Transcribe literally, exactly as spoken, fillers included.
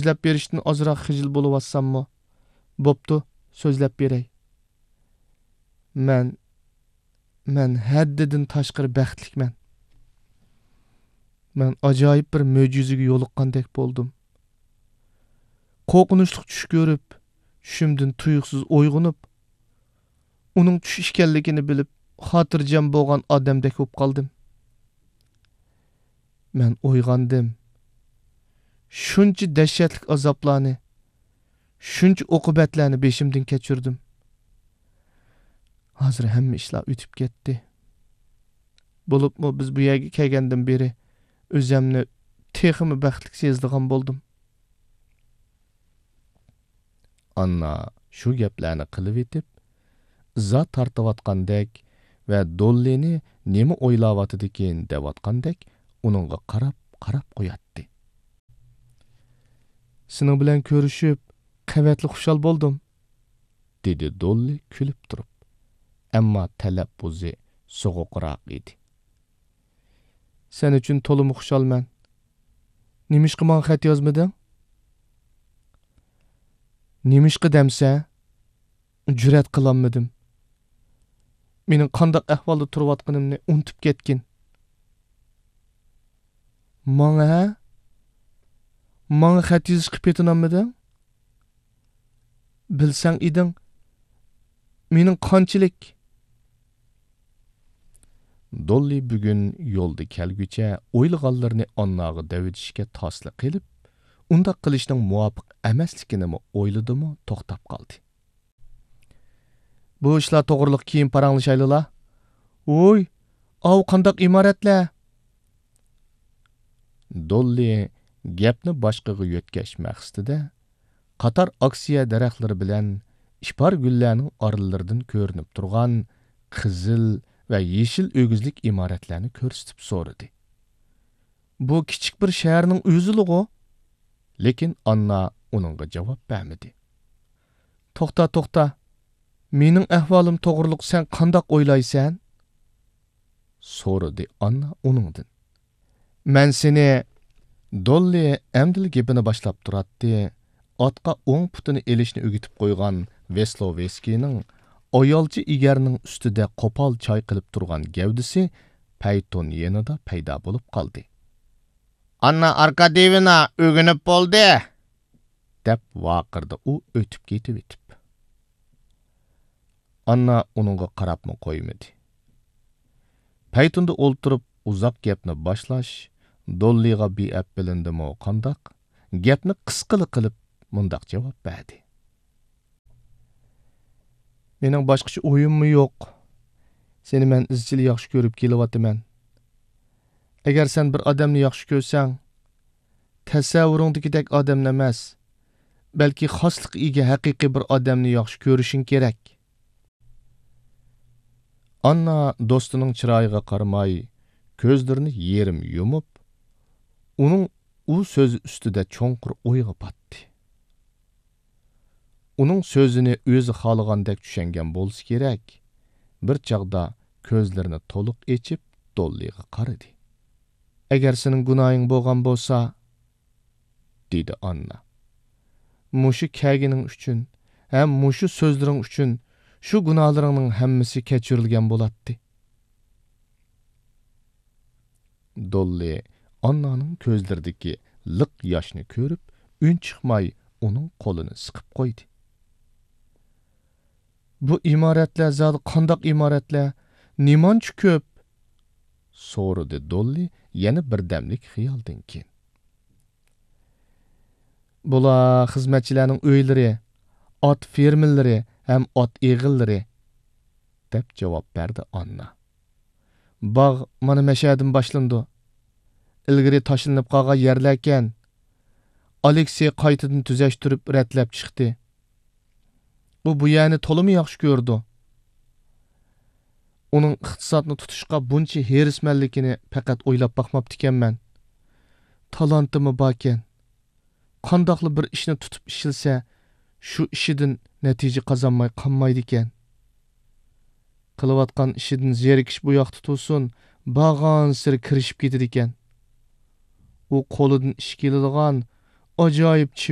سۆزلەپ بېرىشتىن ئازراق خىجىل بولۇۋاتساممۇ، بوپتۇ، سۆزلەپ بېرەي. مەن، مەن ھەددىدىن تاشقىرى بەختلىكمەن. مەن ئاجايىپ بىر مۆجىزىگە يولۇققاندەك بولدۇم. قورقۇنچلۇق چۈش كۆرۈپ، چۈشۈمدىن تۇيۇقسىز ئويغىنىپ، ئۇنىڭ چۈش ئىكەنلىكىنى بىلىپ، خاتىرجەم بولغان ئادەمدەك بولۇپ قالدىم. مەن ئويغاندىم. شۇنچە دەھشەتلىك ئازابلارنى، شۇنچە ئوقۇبەتلەرنى بېشىمدىن كەچۈردۈم. ھازىر ھەممە ئىشلار ئۆتۈپ كەتتى. بولۇپمۇ بىز بۇ يەرگە كەلگەندىن بېرى ئۆزەمنى تېخىمۇ بەختلىك سېزىدىغان بولدۇم. ئاننا شۇ گەپلەرنى قىلىۋېتىپ، ئىزا تارتىۋاتقاندەك ۋە دوللىنى نېمە ئويلاۋاتىدىكىن دەۋاتقاندەك ئۇنىڭغا قاراپ، قاراپ قوياتتى. سېنىڭ بىلەن كۆرۈشۈپ، قەۋەتلىك خۇشال بولدۇم، دېدى دوللى كۈلۈپ تۇرۇپ. ئەمما تەلەپپۇزى سوغۇقراق ئىدى. سەن ئۈچۈن تولىمۇ خۇشالمەن. نېمىشقا ماڭا خەت يازمىدىڭ؟ نېمىشقا دەمسە؟ جۈرئەت قىلالمىدىم. مېنىڭ قانداق ئەھۋالدا تۇرۇۋاتقىنىمنى ئۇنتۇپ كەتكىن. ماڭا ھە؟ ماڭا خەت يېزىشقا پېتىنالمىدىڭ؟ بىلسەڭ ئىدىڭ، مېنىڭ قانچىلىك. دوللى بۈگۈن يولدا كەلگۈچە ئويلىغانلىرىنى ئانناغا دەۋېتىشكە تاسلا قېلىپ، ئۇنداق قىلىشنىڭ مۇۋاپىق ئەمەسلىكىنىمۇ ئويلىدىمۇ توختاپ قالدى. بۇ ئىشلار توغرىلىق كېيىن پاراڭلىشايلىلا. ۋوي، ئاۋۇ قانداق ئىمارەتلەر؟ دوللى گەپنى باشقىغا يۆتكەش مەقسىتىدە، قاتار ئاكسىيە دەرەخلىرى بىلەن ئىپار گۈللەرنىڭ ئارىلىرىدىن كۆرۈنۈپ تۇرغان قىزىل ۋە يېشىل ئۆگزىلىك ئىمارەتلەرنى كۆرسىتىپ سورىدى. بۇ كىچىك بىر شەھەرنىڭ ئۆزىلىغۇ؟ لېكىن ئاننا ئۇنىڭغا جاۋاب بەرمىدى. توختا، توختا، مېنىڭ ئەھۋالىم توغرۇلۇق سەن قانداق ئويلايسەن؟ سورىدى ئاننا ئۇنىڭدىن. مەن سېنى، دوللى ئەمدىلا گېپىنى باشلاپ تۇراتتى، ئاتقا ئوڭ پۇتىنى ئېلىشنى ئۆگىتىپ قويغان ۋېسلوۋېسكىينىڭ ئايالچە ئېگەرنىڭ ئۈستىدە قوپال چايقىلىپ تۇرغان گەۋدىسى پەيتون يېنىدا پەيدا بولۇپ قالدى. ئاننا ئاركاديېۋنا ئۆگىنىپ بولدى! دەپ ۋارقىرىدى ئۇ ئۆتۈپ كېتىۋېتىپ. ئاننا ئۇنىڭغا قاراپمۇ قويمىدى. پەيتۇندا ئولتۇرۇپ ئۇزاق گەپنى باشلاش دوللىغا بىئەپ بىلىندىمۇ قانداق، گەپنى قىسقىلا قىلىپ مۇنداق جاۋاب بەردى. مېنىڭ باشقىچە ئويۇممۇ يوق. سېنى مەن ئىزچىل ياخشى كۆرۈپ كېلىۋاتىمەن. ئەگەر سەن بىر ئادەمنى ياخشى كۆرسەڭ، تەسەۋۋۇرۇڭدىكىدەك ئادەمنى ئەمەس، بەلكى خاسلىققا ئىگە ھەقىقىي بىر ئادەمنى ياخشى كۆرۈشۈڭ كېرەك. ئاننا دوستىنىڭ چىرايىغا قارىماي، كۆزلىرىنى يېرىم يۇمۇپ، ئۇنىڭ ئۇ سۆزى ئۈستىدە چوڭقۇر ئويغا پاتتى. ئۇنىڭ سۆزىنى ئۆزى خالىغاندەك چۈشەنگەن بولسا كېرەك، بىر چاغدا كۆزلىرىنى تولۇق ئېچىپ، دوللىغا قارىدى. ئەگەر سېنىڭ گۇناھىڭ بولغان بولسا، دېدى ئاننا. مۇشۇ كەلگىنىڭ ئۈچۈن ھەم مۇشۇ سۆزلىرىڭ ئۈچۈن شۇ گۇناھلىرىڭنىڭ ھەممىسى كەچۈرۈلگەن بولاتتى. دوللى ئاننانىڭ كۆزلىرىدىكى لىق ياشنى كۆرۈپ، ئۈن چىقماي ئۇنىڭ قولىنى سىقىپ قويدى. بۇ ئىمارەتلەر زادى قانداق ئىمارەتلەر؟ نېمانچە كۆپ؟ سورىدى دوللى يەنە بىردەملىك خىيالدىن كېيىن. بۇلار خىزمەتچىلەرنىڭ ئۆيلىرى، ئات فېرمىلىرى ھەم ئات ئېغىللىرى، دەپ جاۋاب بەردى ئاننا. باغ مانا مەشەدىن باشلىنىدۇ. ئىلگىرى تاشلىنىپ قالغان يەرلەركەن. ئالېكسېي قايتىدىن تۈزەشتۈرۈپ رەتلەپ چىقتى. ئۇ بۇ يەرنى تولىمۇ ياخشى كۆرىدۇ. ئۇنىڭ ئىقتىسادنى تۇتۇشقا بۇنچە ھېرىسمەنلىكىنى پەقەت ئويلاپ باقماپتىكەنمەن. تالانتىمۇ باركەن. قانداقلا بىر ئىشنى تۇتۇپ ئىشلىسە، شۇ ئىشىدىن نەتىجە قازانماي قالمايدىكەن. قىلىۋاتقان ئىشىدىن زېرىكىش بۇ ياقتا تۇرسۇن، بارغانسېرى كىرىشىپ كېتىدىكەن. ئۇ قولىدىن ئىش كېلىدىغان، ئاجايىپ چېۋىر.